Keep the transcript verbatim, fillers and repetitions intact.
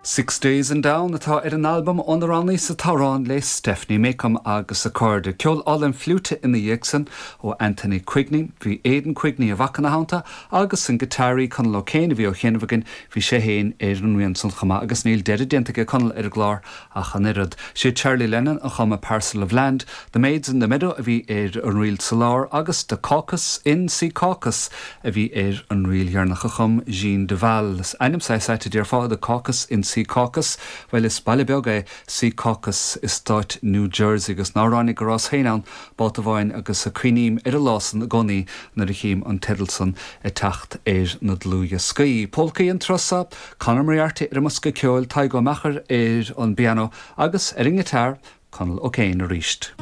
Six Days and Down atá ar an albam óna roghnaíos an t-amhrán le Stephanie Macom agus a cairde. Ceol álainn fliúite ina dhiaidh san ó Anthony Quigney, bhí Aidan Quigney a mhac ina theannta agus an giotáraí Conal O'Kane a bhí á sheinm againn bhí sé féin ar an rian san chomh maith agus níl deireadh déanta ag Conal ar an gclár ach an oiread. Sé Charlie Lennon a chum A Parcel of Land, The Maids in the Meadow a bhí ar an ríl sa lár agus The Caucus in Secaucus a bhí ar an ríl dheireanach a chum Jean Deval. Ainm saghas déarfá The Caucus in Secaucus, Well is baile beag é Secaucus i stát New Jersey agus ná ránig go rabhas féin ann babhta amháin agus cuimhním ar an lá san i gcónaí nuair a chím an teideal san ag teacht ar na dlúthdhioscaí. Polcaí an turas seo, Conor Moriarty ar an mbosca ceoil Tadhg Ó Meachair ar an bpianó agus ar an ngiotár Conal O'Kane arís.